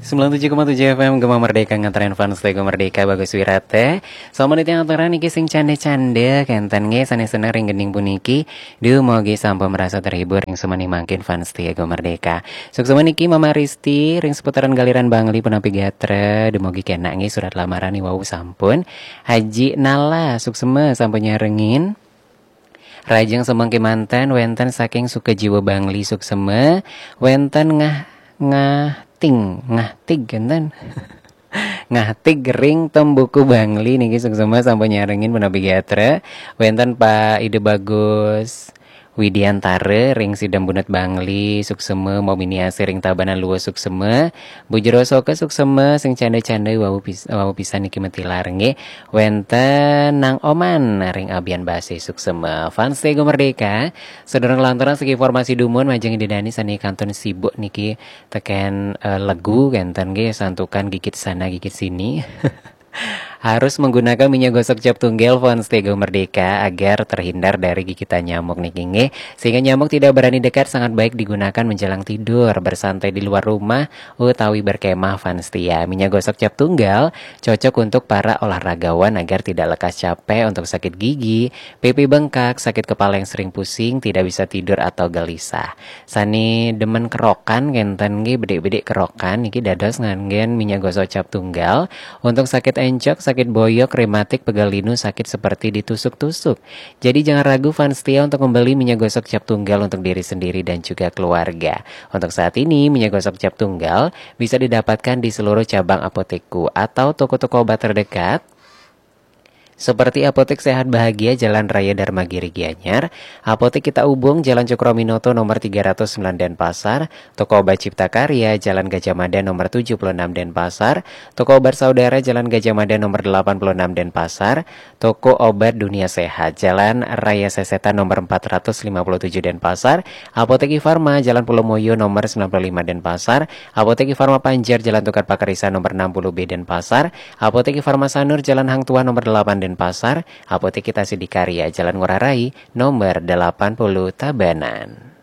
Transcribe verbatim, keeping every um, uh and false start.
Sembilan tujuh koma tujuh F M Gema Merdeka, nganterin fans Tego Merdeka, Bagus Wirate. Sama di tiang aturan niki sing canda-canda, kenten nggih, sane seneng ring gending puniki. Duh, mogi sampun merasa terhibur ring semeni mangkin fans Tego Merdeka. Suksema niki Mama Risti, ring seputaran Galiran Bangli punapi gatra, dumogi kenak nggih surat lamaran wau sampun. Haji Nala, suksema sampun nyarengin. Rajeng semeng kemanten wenten saking Sukajiwa Bangli, suksema, wenten Ngah, Ngahting, Ngahtig kenten. Ngahtig ring Tembuku Bangli niki, suksema sampun nyarengin punapi gatra. Wenten Pak Ida Bagus Widiantara ring Sidam Bunut Bangli, suksema, Momini Asih ring Tabanan Luwus, suksema, Bu Jero Soka, suksema, sing canda-canda wau pis-, wau pisan niki metilar nggih. Wenten Nang Oman ring Abian Base, suksema. Fans Tego Merdeka, sedurung lanturang segi informasi dumun, majeng Ida Dani sane kantun sibuk niki teken, eh, legu kenten nggih, santukan gigit sana gigit sini. Harus menggunakan minyak gosok cap tunggal fans Tego Merdeka agar terhindar dari gigitan nyamuk niki nggih. Sehingga nyamuk tidak berani dekat, sangat baik digunakan menjelang tidur, bersantai di luar rumah, utawi berkemah fans setia. Minyak gosok cap tunggal cocok untuk para olahragawan agar tidak lekas capek, untuk sakit gigi, pipi bengkak, sakit kepala yang sering pusing, tidak bisa tidur atau gelisah. Sane demen kerokan kenten nggih, bedik-bedik kerokan niki dados nganggen minyak gosok cap tunggal. Untuk sakit encok, sakit boyok, rematik, pegal linu, sakit seperti ditusuk-tusuk. Jadi jangan ragu fans setia untuk membeli minyak gosok cap tunggal untuk diri sendiri dan juga keluarga. Untuk saat ini, minyak gosok cap tunggal bisa didapatkan di seluruh cabang Apotekku atau toko-toko obat terdekat, seperti Apotek Sehat Bahagia, Jalan Raya Dharmagiri Gianyar, Apotek Kita Ubung, Jalan Cokroaminoto nomor tiga ratus sembilan Denpasar, Toko Obat Cipta Karya, Jalan Gajah Mada nomor tujuh puluh enam Denpasar, Toko Obat Saudara, Jalan Gajah Mada nomor delapan puluh enam Denpasar, Toko Obat Dunia Sehat, Jalan Raya Sesetan nomor empat ratus lima puluh tujuh Denpasar, Apotek Farma, Jalan Pulau Moyo nomor sembilan puluh lima Denpasar, Apotek Farma Panjer, Jalan Tukad Pakarisa nomor enam puluh B Denpasar, Apotek Farma Sanur, Jalan Hang Tuah nomor delapan Denpasar, Apotek Kita Sidikarya, Jalan Ngurah Rai nomor delapan puluh Tabanan.